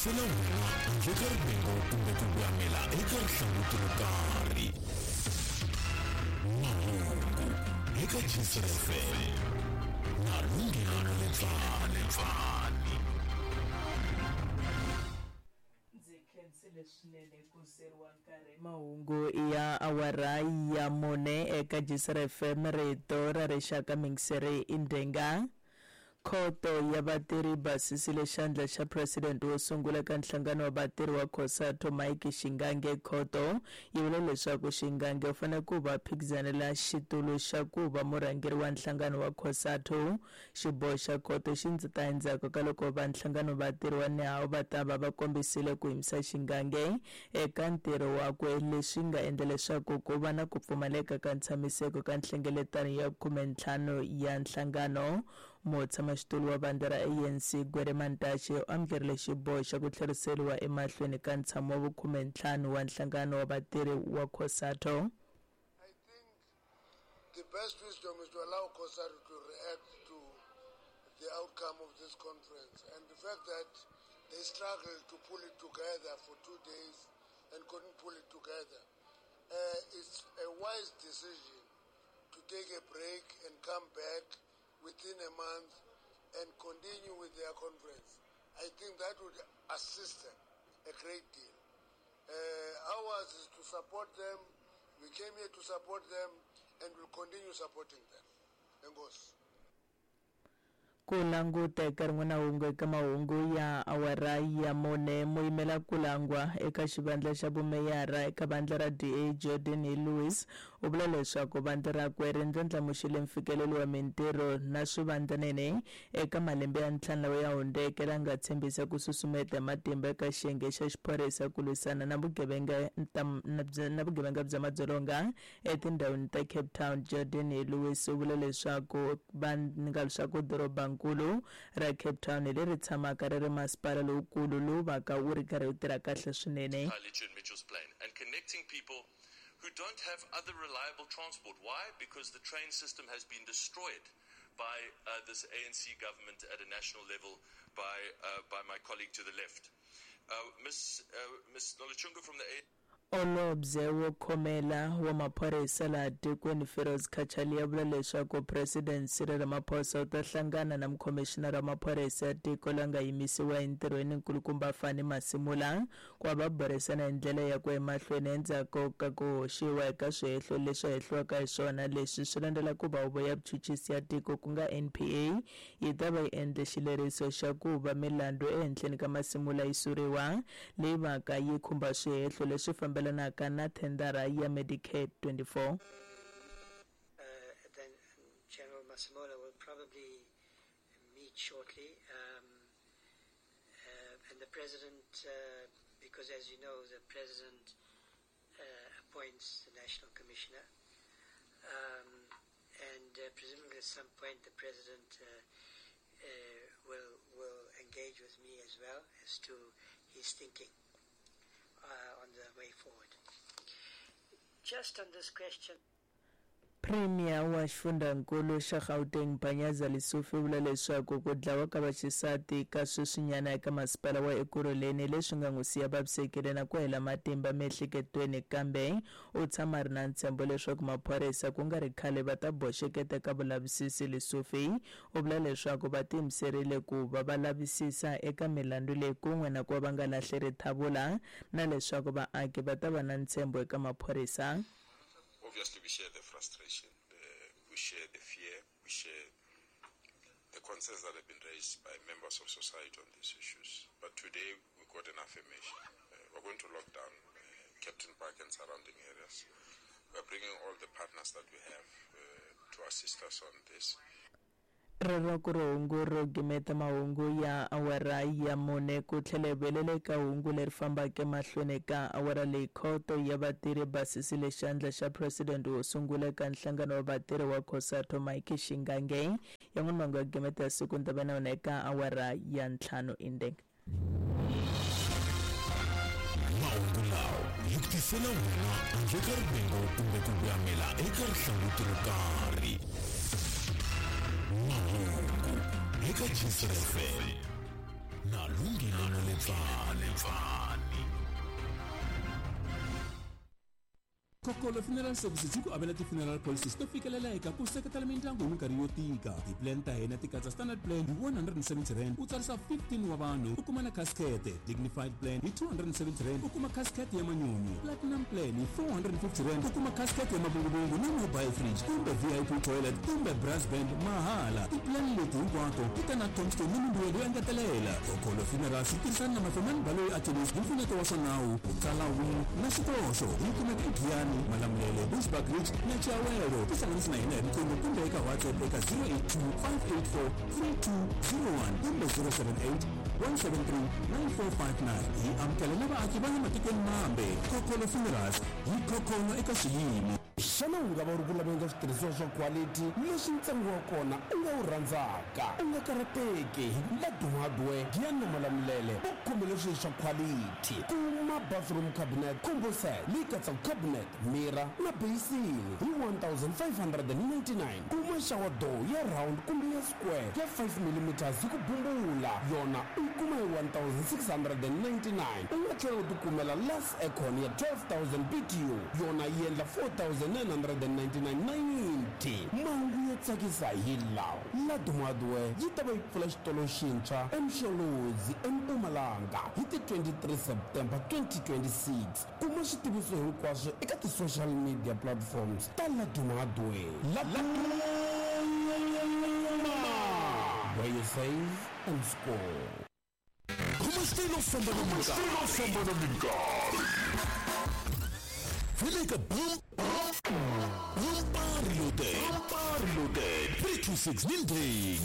tisela wena handle ka rivengo kumbe ku voyamela eka rihlanguti ro karhi. Mahungu eka Gcina FM na Lunghelo Letsane. Ndzi khensile swinene ku seriwa nkarhi. Mahungu ya awara ya mune eka Gcina FM, rito ra rixaka mingiseri i Ndenga. Khoto ya vatirhi yi basisile xandla xa president wo sungula eka nhlangano wa vatirhi wa COSATU Mike Shingange. Khoto yi vule leswaku Shingange u fanele ku va phikizanela xitulu xa ku va murhangeri wa nhlangano wa COSATU. Xiboho xa khoto xi ndzi ta endzhaku ka loko va nhlangano vatirhi wa NEHAWU va ta va va kombisile ku yimisa Shingange eka ntirho wakwe, leswi nga endla leswaku ku va na ku pfumaleka ka ntshamiseko ka nhlengeletano ya 15 ya nhlangano. Mutshamaxitulu wa vandla ra ANC Gwede Mantashe u amukerile xiboho xa ku tlheriseriwa emahlweni ka ntshamo wa vukhume-ntlhanu wa nhlangano wa vatirhi wa COSATU. I think the best wisdom is to allow COSATU to react to the outcome of this conference, and the fact that they struggled to pull it together for 2 days and couldn't pull it together. It's a wise decision to take a break and come back within a month and continue with their conference. I think that would assist them a great deal. Ours is to support them. We came here to support them and we'll continue supporting them. Enkosi. Ku languta eka rin'wana hungu eka mahungu ya awara ya mune, muyimela ku langwa eka xivandla xa vumeyara eka vandla ra DA Geordin Hill-Lewis u vula leswaku vandla rakwe ri ndlandlamuxile mfikelelo wa mintirho na swivandlanene eka malembe ya ntlhanu lawa ya hundzeke, la nga tshembisa ku susumeta hi matimba eka xiyenge xa xiphorisa ku lwisana na vugevenga na vugevenga bya madzolonga etindhawini ta Cape Town. Geordin Hill-Lewis u vule leswaku va nga leswaku dorobankulu ra Cape Town hi leri tshamaka ri ri masipala lowukulu lowu vaka wu ri karhi wu tirha kahle swinene. Khayelitsha and Mitchells Plain and connecting people who don't have other reliable transport. Why? Because the train system has been destroyed by this ANC government at a national level by my colleague to the left. Miss Nolutshungu from the A Holobye wo khomela wa maphorisa laha tikweni Firoz Cachalia vula leswaku President Cyril Ramaphosa u ta hlangana na mukhomixinara wa maphorisa ya tiko la nga yimisiwa entirhweni nkulukumba Fannie Masemola ku va va burisana hi ndlela ya ku emahlweni endzhaku ka ku hoxiwa eka swihehlo leswi hehliwaka hi swona. Leswi swi landzela ku va huvo ya vuchuchisi ya tiko ku nga NPA yi ta va yi endle xileriso xa ku va milandzu ehenhleni ka Masemola yi suriwa, leyi vaka yi khumba swihehlo leswi fambelanaka na thendara ya Medicare 24. Then General Masemola will probably meet shortly, and the President, because as you know, the President appoints the National Commissioner, and presumably at some point the President will engage with me as well as to his thinking on the way forward. Just on this question. Premier wa xifundzankulu xa Gauteng Panyaza Lesufi u vula leswaku ku dlawa ka vaxisati ka sweswinyana eka masipala wa Ekurhuleni leswi nga n'wi siya vavisekile na ku hela matimba miehleketweni, kambe u tshama a ri na ntshembo leswaku maphorisa ku nga ri khale va ta boxeketa eka vulavisisi. Lesufi u vula leswaku va tiyimiserile ku va va lavisisa eka milandzu leyi kun'we na ku va va nga lahli rithavula, na leswaku vaaki va ta va na ntshembo eka maphorisa. Obviously, we share the frustration, we share the fear, we share the concerns that have been raised by members of society on these issues. But today, we got an affirmation. We're going to lock down Kempton Park and surrounding areas. We're bringing all the partners that we have to assist us on this. Rero ku ri hungu ro gimeta mahungu ya awara ya mune ku tlhela hi vuyelela eka hungu leri fambaka emahlweni ka awara leyi. Khoto ya vatirhi basisile xandla xa president wo sungula eka nhlangano wa vatirhi wa COSATU Mike Shingange. Yan'wana mahungu ya gimeta ya siku ni ta va na wona eka awara ya 5 indeng. Mahungu lawa yi ku tisela wena handle ka rivengo kumbe ku voyamela eka rihlanguti ro karhi. Mahungu eka Gcina FM na Lunghelo Letsane. Pfani. Kokolo Funeral Services yi ku avela ti-funeral policies to fikeleleka ku seketela mindyangu hi minkarhi yo tika. Ti-plan ta hina ti katsa standard plan hi R170 u tsarisa 15 wa vanhu u kuma na casket, dignified plan hi R270 u kuma casket ya manyunyu, platinum plan hi R450 u kuma casket ya mavunguvungu na mobile fridge kumbe VIP toilet kumbe brass band mahala. Ti-plan leti hinkwato ti ta na tombstone ni mimbuyelo yo engetelela. Kokolo Funerals yi tirhisana na Mafemani Baloyi Attorneys hi mpfuneto wa swa nawu ku tsala will na xikoxo. Yi kumeka eGiyani, Malamulele, Bushbuckridge na Chiawelo. Tihlanganisi na hina hi riqingho kumbe eka WhatsApp eka 082 584 3201 kumbe 078 173 9459. Hi amukela na vaaki va le matikweni mambe. Kokolo Funerals yi khokholo eka xiyimo. Xana u nga va u ri ku laveni ka switirhisiwa swa quality leswi ntsengo wa kona u nga wu rhandzaka? U nga karhateki, Laduma Hardware Giyani na Malamulele va khomele swilo swa quality. Kuma bathroom cabinet combo set leyi katsaka cabinet, mirror na basin hi 1599. Kuma shower door ya round kumbe ya square ya 5 mm hi ku bumbula, yona u yi kuma hi 1699. U nga tlhela u tikumela las aircon ya 12000 BTU, yona yi endla 4999.90. Mahungu yo tsakisa hi lawa: Laduma Hardware yi ta va yi pfula xitolo xintshwa eMsholozi eMpumalanga hi ti 23 September 2026. Kuma switiviso hinkwaswo eka ti-social media platforms ta Laduma Hardware. Laduma, where you save and score. Khoma xitayele u famba na minkarhi. Vele ka Bump Bump Bumper Loaded 326 Nindeng.